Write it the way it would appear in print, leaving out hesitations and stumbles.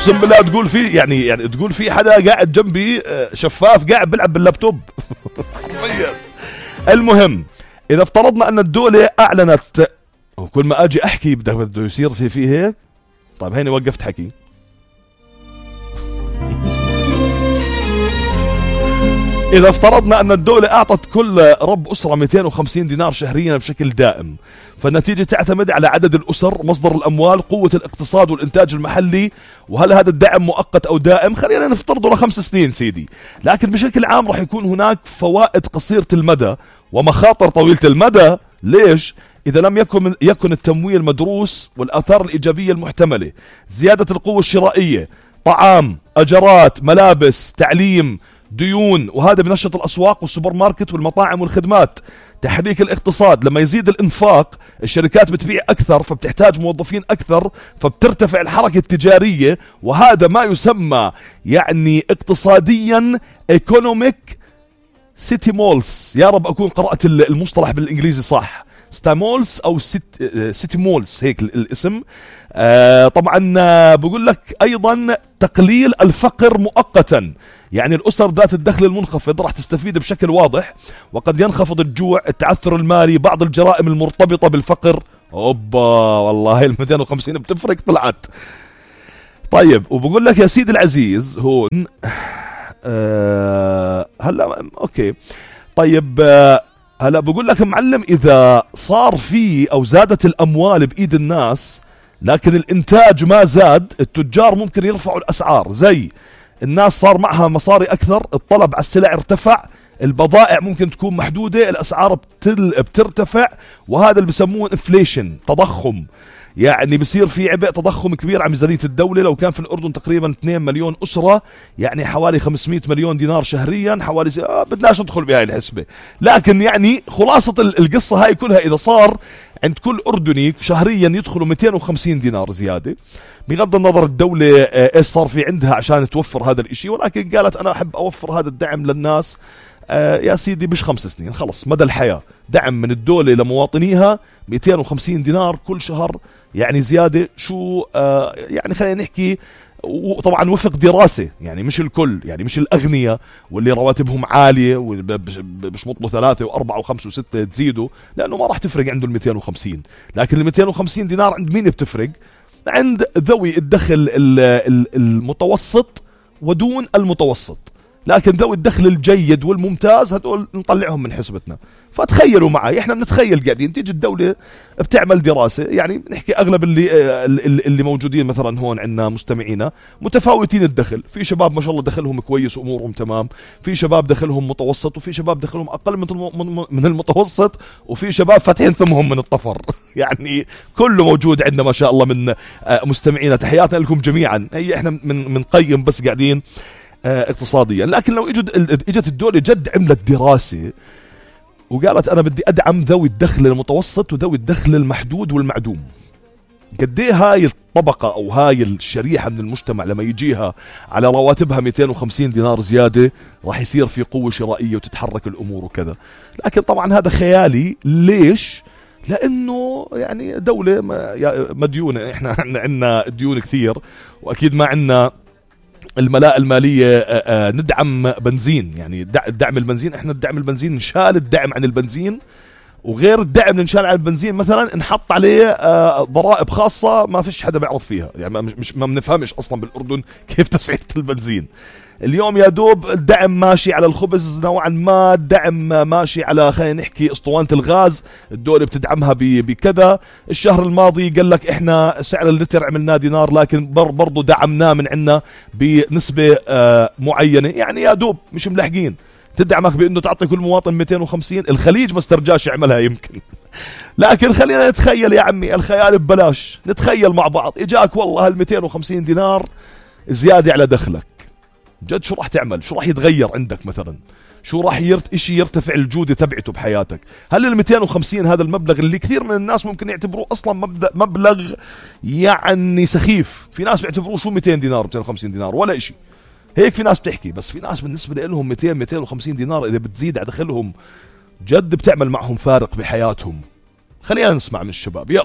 اقسم بالله تقول في يعني تقول في حدا قاعد جنبي شفاف قاعد بيلعب باللابتوب. المهم اذا افترضنا ان الدولة اعلنت، وكل ما اجي احكي بده يصير فيه هيك. طيب هيني وقفت حكي. إذا افترضنا أن الدولة أعطت كل رب أسرة 250 دينار شهريا بشكل دائم، فالنتيجة تعتمد على عدد الأسر، مصدر الأموال، قوة الاقتصاد والإنتاج المحلي، وهل هذا الدعم مؤقت أو دائم. خلينا نفترضه ل5 سنين سيدي، لكن بشكل عام رح يكون هناك فوائد قصيرة المدى ومخاطر طويلة المدى. ليش؟ إذا لم يكن التمويل مدروس والآثار الإيجابية المحتملة: زيادة القوة الشرائية، طعام، أجرات، ملابس، تعليم، ديون، وهذا بنشط الأسواق والسوبر ماركت والمطاعم والخدمات. تحريك الاقتصاد: لما يزيد الإنفاق الشركات بتبيع أكثر، فبتحتاج موظفين أكثر، فبترتفع الحركة التجارية، وهذا ما يسمى يعني اقتصاديا economic stimulus. يا رب أكون قرأت المصطلح بالإنجليزي صح، ستامولز أو سيتي مولز، هيك الاسم. طبعا بقول لك أيضا تقليل الفقر مؤقتا، يعني الأسر ذات الدخل المنخفض راح تستفيد بشكل واضح، وقد ينخفض الجوع، التعثر المالي، بعض الجرائم المرتبطة بالفقر. أوبا والله 250 بتفرق طلعت. طيب وبقول لك يا سيدي العزيز هون هلا أوكي. طيب هلا بقول لك معلم، إذا صار في أو زادت الأموال بإيد الناس لكن الإنتاج ما زاد، التجار ممكن يرفعوا الأسعار. زي الناس صار معها مصاري أكثر، الطلب على السلع ارتفع، البضائع ممكن تكون محدودة، الأسعار بترتفع، وهذا اللي بسموه انفليشن، تضخم. يعني بصير في عبء تضخم كبير على ميزانية الدولة. لو كان في الأردن تقريبا 2 مليون أسرة، يعني حوالي 500 مليون دينار شهريا، حوالي بدناش ندخل بهاي الحسبة، لكن يعني خلاصة القصة هاي كلها إذا صار عند كل أردني شهريا يدخلوا 250 دينار زيادة، بغض النظر الدولة ايش صار في عندها عشان توفر هذا الاشي، ولكن قالت أنا أحب أوفر هذا الدعم للناس. يا سيدي مش 5 سنين، خلص مدى الحياة، دعم من الدولة لمواطنيها 250 دينار كل شهر، يعني زيادة شو يعني خلينا نحكي. وطبعا وفق دراسة، يعني مش الكل، يعني مش الأغنياء واللي رواتبهم عالية وبشمطوا 3 و4 و5 و6 تزيدوا، لأنه ما راح تفرق عنده 250. لكن 250 دينار عند مين بتفرق؟ عند ذوي الدخل المتوسط ودون المتوسط. لكن ذوي الدخل الجيد والممتاز هدول نطلعهم من حسبتنا. فتخيلوا معي، احنا بنتخيل قاعدين تيجي الدولة بتعمل دراسة، يعني نحكي اغلب اللي موجودين مثلا هون عندنا مستمعينا متفاوتين الدخل، في شباب ما شاء الله دخلهم كويس وامورهم تمام، في شباب دخلهم متوسط، وفي شباب دخلهم اقل من المتوسط، وفي شباب فاتحين ثمهم من الطفر. يعني كله موجود عندنا ما شاء الله من مستمعينا. تحياتنا لكم جميعا. هي احنا منقيم بس قاعدين اقتصاديا. لكن لو اجت الدولة جد عملت دراسة وقالت أنا بدي أدعم ذوي الدخل المتوسط وذوي الدخل المحدود والمعدوم، قد ايه هاي الطبقة أو هاي الشريحة من المجتمع لما يجيها على رواتبها 250 دينار زيادة راح يصير في قوة شرائية وتتحرك الأمور وكذا. لكن طبعا هذا خيالي. ليش؟ لأنه يعني دولة مديونة، احنا عندنا ديون كثير، وأكيد ما عندنا الملاءة المالية ندعم بنزين. يعني دعم البنزين، احنا الدعم البنزين نشال الدعم عن البنزين، وغير الدعم نشال عن البنزين مثلا نحط عليه ضرائب خاصة ما فيش حدا بيعرف فيها. يعني ما بنفهمش اصلا بالاردن كيف تسعيرة البنزين. اليوم يا دوب الدعم ماشي على الخبز نوعا ما، الدعم ماشي على خلينا نحكي اسطوانة الغاز، الدولة بتدعمها بكذا. الشهر الماضي قال لك احنا سعر اللتر عملناه دينار، لكن برضو دعمناه من عندنا بنسبة معينة. يعني يا دوب مش ملحقين تدعمك بانه تعطي كل مواطن 250. الخليج ما استرجاش يعملها يمكن. لكن خلينا نتخيل يا عمي، الخيال ببلاش، نتخيل مع بعض اجاك والله هال 250 دينار زيادة على دخلك، جد شو راح تعمل؟ شو راح يتغير عندك مثلا؟ شو راح اشي يرتفع الجودة تبعته بحياتك؟ هل ال 250 هذا المبلغ اللي كثير من الناس ممكن يعتبروه اصلا مبلغ يعني سخيف، في ناس بيعتبروه شو 200 دينار 250 دينار ولا اشي، هيك في ناس بتحكي. بس في ناس بالنسبة لهم 250 دينار اذا بتزيد على دخلهم جد بتعمل معهم فارق بحياتهم. خلينا نسمع من الشباب، يلا.